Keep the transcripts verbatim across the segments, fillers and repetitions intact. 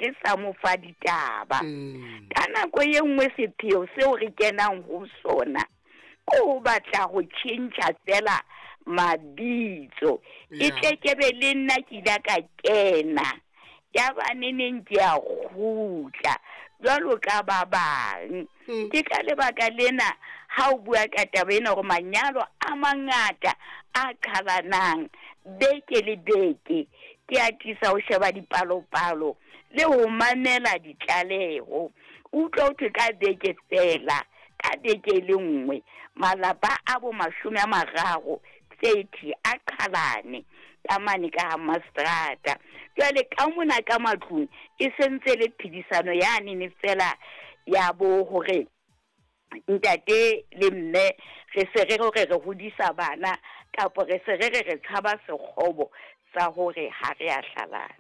re sa mo fa ditaba. Ka nako e nngwe sepheo seo re kenang ho sona ke ho batla ho tjhentjha fela mabitso. E tle ke be le nna ke ile ka kena ya ba neneng ke a kgutla jwalo ka ba bang. Ke ka lebaka lena ha o bua ka taba ena hore manyalo a mangata a qhalanang beke le beke, ke atisa ho sheba dipalopalo le ho mamela ditlaleho. Utlwa ho thwe ka beke fela, ka beke e le nngwe, malapa a bo mashome a mararo thirty a qhalane ka mane ka ha mastrata. Jwale ka mona ka matlung e sentse le phedisano yane ne fela ya bo hore ntate le mme re se re hore re hodisa bana kapa re se re re re tshaba sekgobo sa hore ha re a hlalana.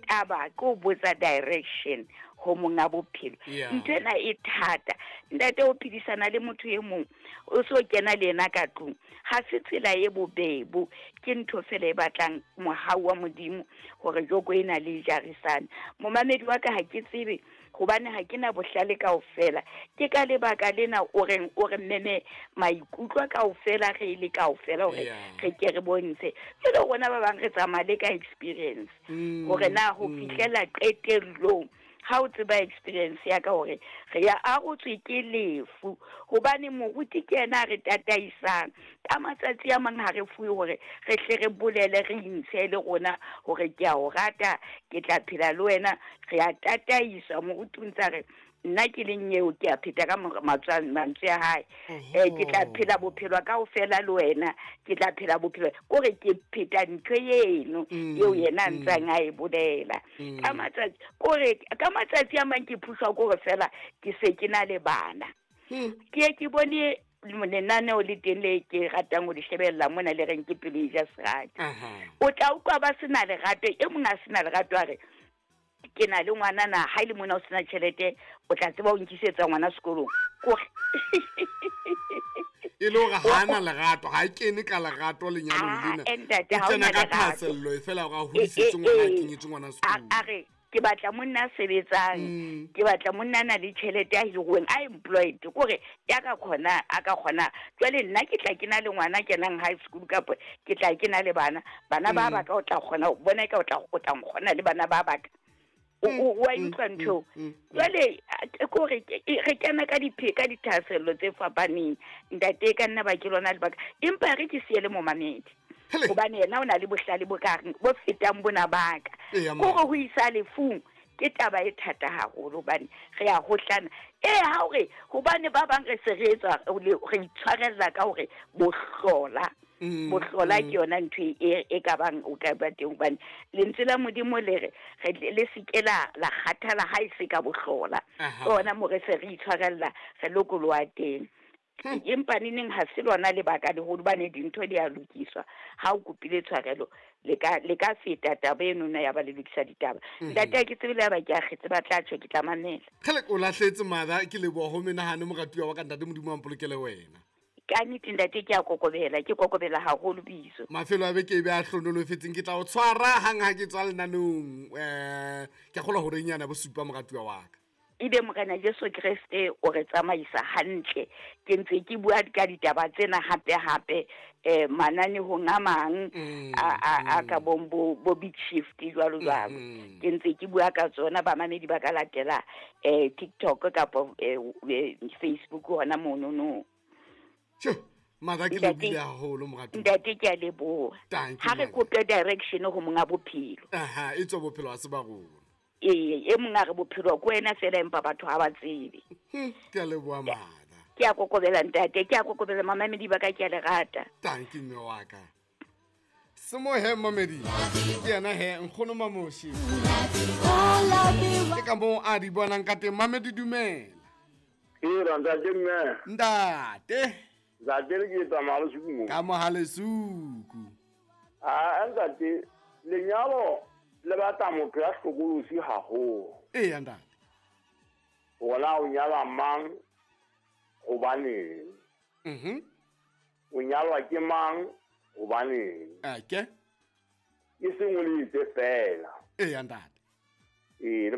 Taba ke ho botsa direction ho monga bophelo. Ntho ena e thata. Ntate o phedisana le motho e mong o so kena le yena ka tlung, ha se tsela e bobebo, ke ntho fela e batlang mohau wa Modimo hore joko ena le jarisane. Momamedi wa ka ha ke tsebe hobane ha ke na bohlale kaofela. Ke ka lebaka lena o reng o re meme maikutlo kaofela re le kaofela hore re ke re bontshe. Jwale rona ba bang re tsamaya le ka experience hore na ho fihlela qetellong ha o tseba experience ya ka hore re ya arotswe ke lefu, hobane moruti ke yena a re tataisang. Ka matsatsi a mang ha re fuwe hore re hle re bolele re intshe le rona hore ke a o rata, ke tla phela le wena. Re a tataiswa, moruti o ntsa re nna ke leng eo ke a pheta ka mantswe a hae. Eh ke tla phela bophelo kaofela le wena, ke tla phela bophelo kore ke pheta ntho eno eo yena a ntsang a e bolela. Ka matsatsi kore ka matsatsi a mang ke phuswa kore fela ke se ke na le bana. Ke ke bone lenaneo le teng le ke ratang ho le shebella mona le reng ke pelo e ja serati. O tla utlwa ba sena lerato, e mong a sena lerato a re ke na le ngwana na ha ile mona o sena tjhelete o tla tseba o nkisetsa ngwana sekolong. Kore e le hore ha ana lerato, ha kene ka lerato lenyalong lena. Ntate ha ona lerato. Ka thahasello e fela hore a hodisetse ngwana, a kenyetse ngwana sekolong. A re ke batla monna a sebetsang, ke batla monna a na le tjhelete a hiruweng, a employed, kore ya ka kgona a ka kgona. Jwale nna ke tla ke na le ngwana kenang high school kapa ke tla ke na le bana, bana ba ba ka o tla kgona bona ka o tla o tla nkgona le bana ba ba ka. O wa utlwa ntho. Jwale kore re kena ka diphe ka dithahasello tse fapaneng. Ntate ka nna ba ke lona lebaka, empa re ke siele momamedi hobane yena o na le bohlale bo ka bo fetang bona baka. Kore ho isa lefung ke taba e thata haholo hobane re a hohlana. Eh ha hore hobane ba bang re se re etswa re itshwarella ka hore bohlola. Bohlola ke yona ntho e e ka bang o ka ba teng hobane lentswe la Modimo le re le se ke la la kgathala ha e se ka bohlola. Ona mo re se re itshwarella re lokoloha teng. Empa neneng ha se lona lebaka leholo hobane dintho di a lokiswa. Ha o kopile tshwarelo le ka le ka feta taba eno na ya ba le lokisa ditaba. Ntate ke tsebile ba ke a kgetse ba tla tjho ke tla mamela. Kgele o lahletse mother ke leboha ho menahano moratuwa wa ka ntate Modimo a mpolokele wena. Ka nnete ntate ke a kokobela, ke kokobela haholo biso. Mafelo a beke e be a hlonolofetseng, ke tla o tshwara hang ha ke tswa lenanong. Eh ke a kgolwa hore nyana bo supa moratuwa wa ka. Ebe Morena Jesu Kreste o re tsamaisa hantle. Ke ntse ke bua ka ditaba tsena hape hape eh mananehong a mang a a ka bong bo bo big shift jwalo jwalo. Ke ntse ke bua ka tsona, bamamedi ba ka latela eh TikTok kapa Facebook hona mono no. Tjhe, mother ke lebohile haholo moratuwa. Ntate ke a leboha. Ha re kope direction ho monga bophelo. Aha, e tswa bophelo ha se ba rona. E e monga re bophelo ke wena fela empa batho ha ba tsebe. Ke a leboha mother. Ke a kokobela ntate, ke a kokobela mamamedi ba ka, ke a le rata. Thank you mme wa ka. Semohe mamedi. Ke yena he nkgono Mamoshi. Ke ka moo a di bonang ka teng. Mamedi dumela. Ee ntate mme. Ntate. Ntate le ke tsamaya lesuku mo. Ka mohalesuku. Ah ntate lenyalo le batla motho ya hlokolosi haholo. Ee ntate. Hore o nyala mang hobaneng? Mhm. O nyalwa ke mang hobaneng? Ake. E seng o le itse fela. Ee ntate. Ee le